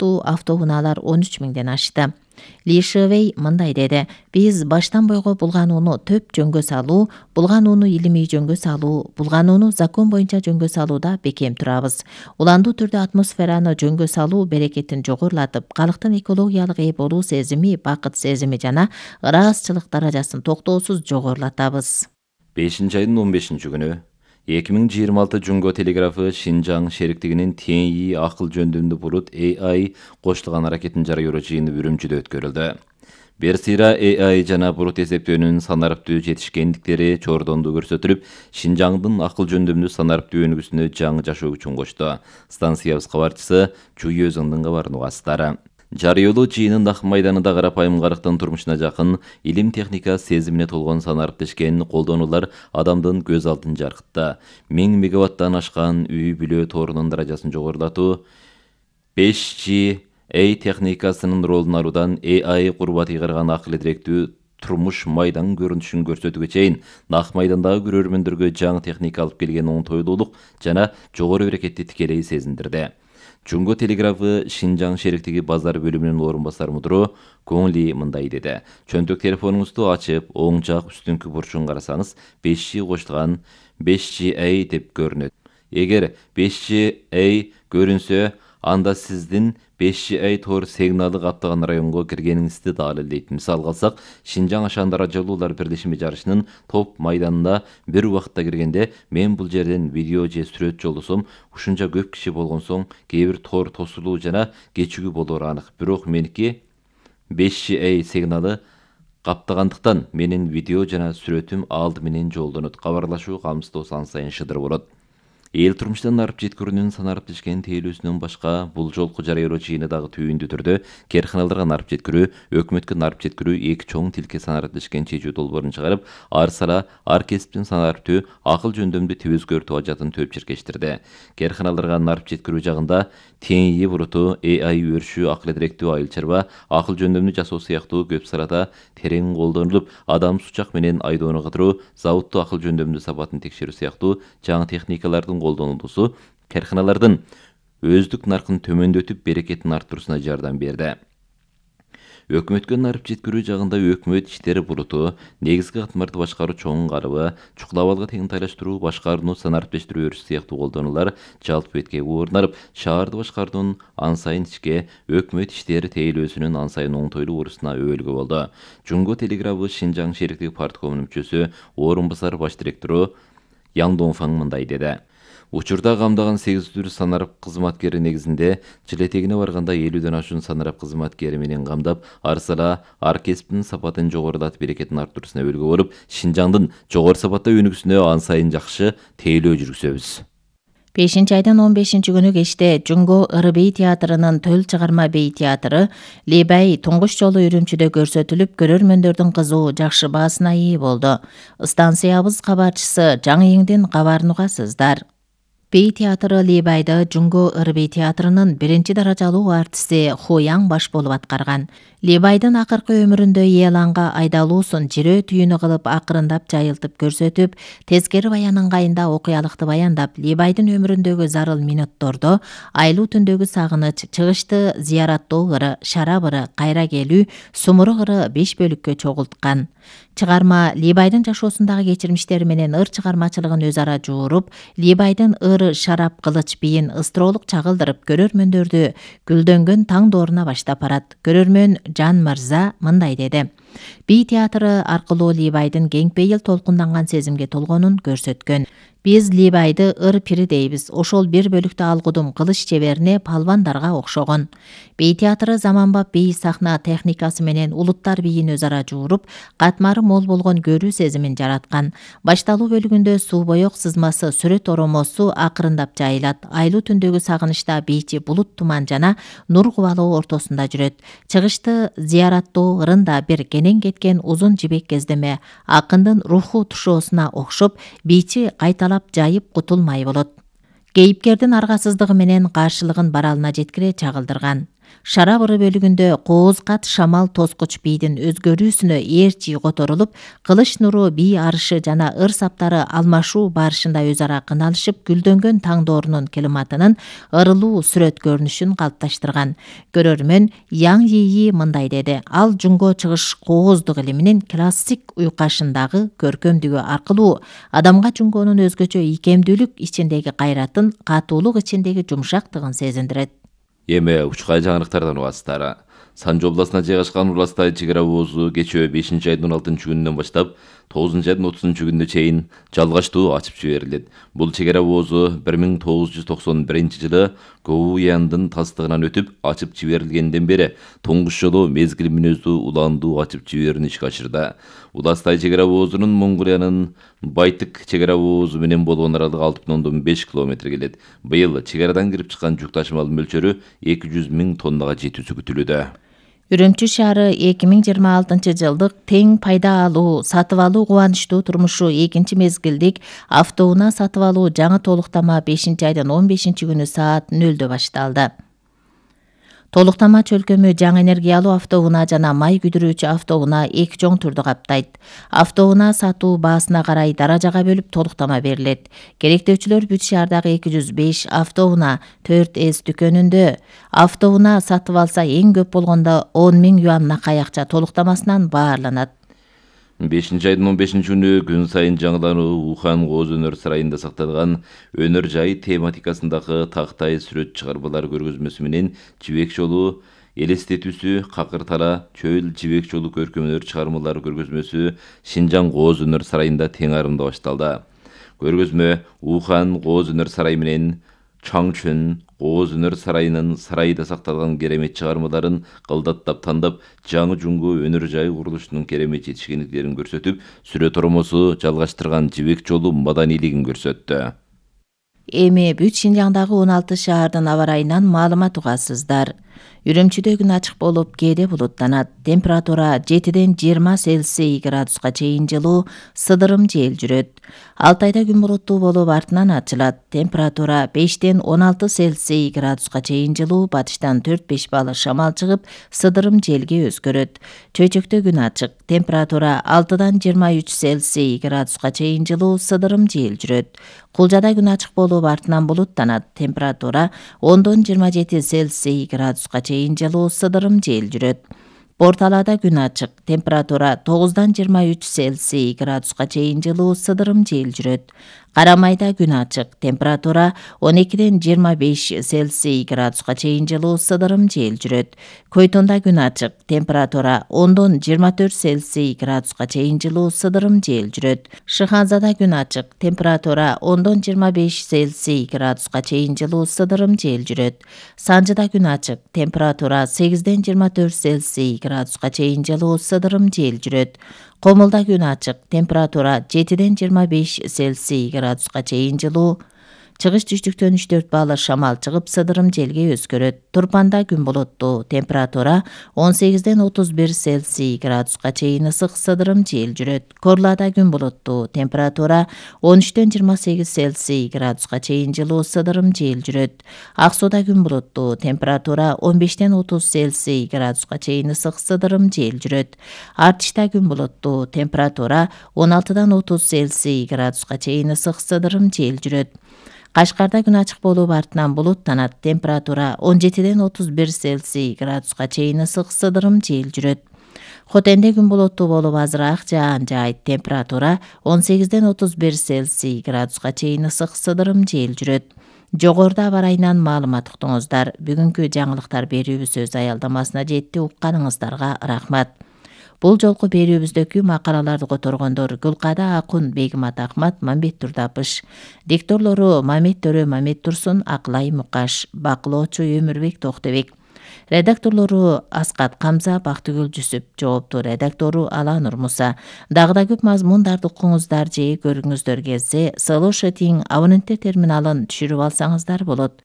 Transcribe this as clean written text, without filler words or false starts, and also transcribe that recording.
сыяктуу автоунаалар 13 миңден ашты. Ли Шивей мындай деди: "Биз баштан бойго булганууну төп жөнгө салуу, булганууну илимий жөнгө салуу, булганууну закон боюнча жөнгө салууда бекем турабыз. Уландуу түрдө атмосфераны жөнгө салуу берекетин жогорулатып, калктын экологиялык ээ болуу сезими, бакыт сезими жана ыраазчылык даражасын токтоосуз жогорулатабыз." 5-айдын 15-күнү 2026 Жунго телеграфы Шинжаң шериктигинин TNI акыл жөндөмдүү булут AI кошулган аракетин жарыялоо жыйыны Үрүмчүдө өткөрүлдү. Берсира AI жана булут эсептөөнүн санариптүү жетишкендиктери чордондуу көрсөтүлүп, Шинжаңдын акыл жөндөмдүү санариптүү өнүгүүсүнө жаңы жашоо күчүн кошту. Станциябыз кабарчысы Чуй Өзөңдүн кабарын угасыздар. Жарыялоо жыйынын ак майданында карапайым карыктын турмушуна жакын, илим техника сезимине толгон санариптешкен колдонуулар адамдын көз алдын жаркытты. 1000 мегаваттан ашкан үй бүлө торунун даражасын жогорулатуу, 5G техникасынын ролун алуудан AI курбат ыйгарган акыл директүү турмуш майдан көрүнүшүн көрсөтүүгө чейин ак майдандагы көрөрмөндөргө жаңы техника алып келген оңтойлуулук жана жогору берекетти тикелей сезиндирди. Жунго телеграфы Шинжаң шериктиги базар бөлүмүнүн орун басар мудуру Коңли мындай деди: "Чөнтөк телефонуңузду ачып, оң жак үстүңкү бурчун карасаңыз, 5G кошулган 5G деп көрүнөт. Эгер 5G көрүнсө, анда сиздин 5G тор сигналы каптаган районго киргениңизди далилдейт. Мисалга алсак, Шинжаң Ашан Даражалуулар бирлешими жарышынын топ майданына бир убакытта киргенде, мен бул жерден видео же сүрөт жолдосом, ушунча көп киши болгон соң кээ бир тор тосулуу жана кечигүү болору анык. Бирок меники 5G сигналы каптагандыктан менин видео жана сүрөтүм алды менен жолдонот. Кабарлашуу камсыздоо сан сайын шыдыр болот. Эл турмуштан арып жеткирүүнүн санариптешкен тейлөөсүнөн башка бул жолку жарыялоо жыйыны дагы түйүндүү түрдө керканаларга нарып жеткирүү, өкмөткө нарып жеткирүү эки чоң тилке санариптешкен чечүү долбоорун чыгарып, ар сара ар кесиптин санариптүү акыл жөндөмдүү тип өзгөртүү ажатын төп чиркештирди. Керканаларга нарып жеткирүү жагында TNI булуту, AI өрүшүү, акыл директүү айыл чарба, акыл жөндөмдүү жасоо сыяктуу көп салада терең колдонулуп, адам сучак менен айдоону кыдыруу, заводдуу акыл жөндөмдүү сапатын текшерүү сыяктуу жаңы техникалардын колдонулуусу карканалардын өздүк наркын төмөндөтүп берекетин арттыруусуна жардам берди. Өкмөткө нарып жеткирүү жагында өкмөт иштери булуту, негизги катмарды башкаруу чоң карыбы, чукулап алга теңтайлаштыруу, башкарууну санариптештирүү өрүш сыяктуу колдонулар жалпы бетке орнап, шаарды башкаруунун ан сайын ичке, өкмөт иштери тейлөөсүнүн ан сайын оңтойлуу урусуна өбөлгө болду. Жунго телеграфы Шинжаң шериктиги парткомунун мүчөсү, орун басар баш директору Яң Донфаң мындай деди: "Учурда камдаган 800 санарып кызматкери негизинде жыл этегине барганда 50дөн ашуун санарып кызматкери менен камдап, ар сара ар кесиптин сапатын жогорулатып берекетин арттыруусуна өбөлгө болуп, Шинжаңдын жогору сапатта өнүгүүсүнө ан сайын жакшы тейлөө жүргүзөбүз." 5-айдын 15-күнү кечте Жунго ыры-бей театрынын төл чыгарма бей театры Лебай туңгуч жолу Үрүмчүдө көрсөтүлүп, көрөрмөндөрдүн кызуу жакшы баасына ээ болду. Станциябыз кабарчысы Жаңыйыңдын кабарын угасыздар. Бей театры Лебайды Жунго ыры-бей театрынын 1-даражалуу артисти Хояң баш болуп аткарган. Лебайдын акыркы өмүрүндө Еланга айдалуусун жирөө түйүнү кылып акырындап жайылтып көрсөтүп, тескери баян ыңгайында окуялыкты баяндап, Лебайдын өмүрүндөгү зарыл минуттордо айлуу түндөгү сагыныч, чыгышты зыяраттоо ыры, шарап ыры, кайра келүү, сумурук ыры 5 бөлүккө чогулткан. Чыгарма Лебайдын жашоосундагы кечирмиштери менен ыр чыгармачылыгын өз ара жууруп, Лебайдын ыры, шарап, кылыч биин ыстыроолук чагылдырып, көрөрмөндөрдү гүлдөнгөн таң дооруна баштап барат. Көрөрмөн Жан Мырза мындай деди: "Бей театры аркылуу Лебайдын кеңпейил толкунданган сезимге толгонун көрсөткөн. Биз Лебайды ыр-пири дейбиз. Ошол бир бөлүктө алгудум кылыч чеберине палвандарга окшогон. Бей театры заманбап бей сахна техникасы менен улуттар бийин өз ара жууруп, катмары мол болгон көрүү сезимин жараткан. Башталуу бөлүгүндө суу боек сызмасы, сүрөт оромосу акырындап жайылат. Айлуу түндөгү сагынычта бийчи булут туман жана нур кубалоо ортосунда жүрөт. Чыгышты зыяраттоо ырында бир кенен кеткен узун жибек кездеме акындын руху тушоосуна окшоп, бийчи кайталап жайып кутулмай болот. Кейипкердин аргасыздыгы менен каршылыгын баралына жеткире чагылдырган. Шара быры бөлүгүндө кооз кат шамал тоскуч бийдин өзгөрүүсүнө ээрчи которулуп, кылыч нуру бий арышы жана ыр саптары алмашуу барышында өз ара кыналышып, гүлдөнгөн таң доорунун климатынын ырылуу сүрөт көрүнүшүн калыпташтырган. Көрөрмөн Яң Йии мындай деди: ал жунго чыгыш кооздук илиминин классик уйкашындагы көркөмдүгү аркылуу адамга жунгонун өзгөчө ийкемдүүлүк ичиндеги кайратын, катуулук ичиндеги жумшактыгын сезиндирет. Эми учкай жаңырыктардан угасыздар. Санжы областына жайгашкан Уластай чек ара оозу кечээ 5-айдын 16 күнүнөн баштап 9-айдын 30 күнүнө чейин жалгачтуу ачып жиберилет. Бул чек ара оозу 1991-жылы Гоуяндын тастыгынан өтүп ачып жиберилгенден бери туңгуч жолу мезгил мүнөздүү улаандуу ачып жиберүүнү ишке ашырды. Уластай чек ара оозунун Монголиянын Байтык чек ара оозу менен болгон аралыгы 6,5 километр келет. Быйыл чек арадан кирип чыккан жүк ташымалынын мөлчөрү 200 000 тоннага жетүүсү күтүлүүдө. Үрүмчү шаары 2026-жылдык тең пайда алуу, сатып алуу кубанычтуу турмушу экинчи мезгилдик автоунаа сатып алуу жаңы толуктама 5-айдын 15 күнү саат 0-дө башталды. Толуктама чөлкөмү жаңы энергиялуу автоунаа жана май күйдүрүүчү автоунаа эки чоң түрдү каптайт. Автоунаа сатуу баасына карай даражага бөлүп толуктама берилет. Керектөөчүлөр бүт шаардагы 205 автоунаа 4S дүкөнүндө автоунаа сатып алса эң көп болгондо 10 000 юан накай акча толуктамасынан баарланат. 5-айдын 15 күнү күн сайын жаңылануу Ухан Кооз өнөр сарайында сакталган өнөр жай тематикасындагы тактай сүрөт чыгармалар көргөзмөсү менен жибек жолу элестетүүсү, какыр тала, чөйл жибек жолу көркөмдөр чыгармалар көргөзмөсү Шинжаң Кооз өнөр сарайында тең арымда башталды. Көргөзмө Ухан Кооз өнөр сарайы менен Чаңчөн Кооз өнөр сарайынын сарайда сакталган керемет чыгармаларын кылдаттап тандап, жаңы жуңгу өнөр жай курулушунун керемет жетишкендиктерин көрсөтүп, сүрөт оромосу жалгаштырган жибек жолу маданийлигин көрсөттү. Эми бүт Шинжаңдагы 16 шаардын аба ырайынан маалымат угасыздар. Үрүмчүдө күн ачык болуп, кээде булуттанат. Температура 7-ден 20 Цельсий градуска чейин жылуу, сыдырым жел жүрөт. Алтайда күн булуттуу болуп, артынан ачылат. Температура 5-ден 16 Цельсий градуска чейин жылуу, батыштан 4-5 балы шамал чыгып, сыдырым желге өзгөрөт. Чөйчөктө күн ачык. Температура 6-дан 23 Цельсий градуска чейин жылуу, сыдырым жел жүрөт. Кулжада күн ачык болуп, артынан булуттанат. Температура 10-дон 27 Цельсий градуска чейин жылуу, сыдырым жел жүрөт. Порталада күн ачык. Температура 9-дан 23 Цельсий градуска чейин жылуу, сыдырым жел жүрөт. Карамайда күн ачык. Температура 12-ден 25 Цельсий градуска чейин жылуу, сыдырым жел жүрөт. Көйтонда күн ачык. Температура 10-дон 24 Цельсий градуска чейин жылуу, сыдырым жел жүрөт. Шыханзада күн ачык. Температура 10-дон 25 Цельсий градуска чейин жылуу, сыдырым жел жүрөт. Санжыда күн ачык. Температура 8-ден 24 Цельсий градуска чейин жылуу, сыдырым жел жүрөт. Комулда күн ачык. Температура 7-ден 25 Цельсий градуска чейин жылуу. Чыгыш түштүктөн 3-4 балы шамал чыгып, сыдырым желге өзгөрөт. Турпанда күн булуттуу. Температура 18-ден 31 Цельсий градуска чейин ысык, сыдырым жел жүрөт. Корлада күн булуттуу. Температура 13-ден 28 Цельсий градуска чейин жылуу, сыдырым жел жүрөт. Ак сууда күн булуттуу. Температура 15-ден 30 Цельсий градуска чейин ысык, сыдырым жел жүрөт. Артышта күн булуттуу. Температура 16-дан 30 Цельсий градуска чейин ысык, сыдырым жел жүрөт. Кашкарда күн ачык болуп, артынан булуттанат. Температура 17-ден 31 Цельсий градуска чейин ысык, сыдырым жел жүрөт. Хотенде күн булуттуу болуп, азыраак жаан жаайт. Температура 18-ден 31 Цельсий градуска чейин ысык, сыдырым жел жүрөт. Жогоруда аба ырайынан маалымат уктуңуздар. Бүгүнкү жаңылыктар берүүбүз өз аялдамасына жетти. Укканыңыздарга рахмат. Бул жолку берүүбүздөгү макалаларды которгондор Гүлкада Акун, Бегимат Ахмат, Мамбет Турдапыш. Дикторлору Мамет Төрө, Мамет Турсун, Акылай Мукаш. Бакылоочу Өмүрбек Токтобек. Редакторлору Аскат Камза, Бактыгүл Жүсүп. Жооптуу редактору Аланур Муса. Дагы да көп мазмундарды укуңуздар же көрүңүздөр келсе, Solution абоненттер терминалын түшүрүп алсаңыздар болот.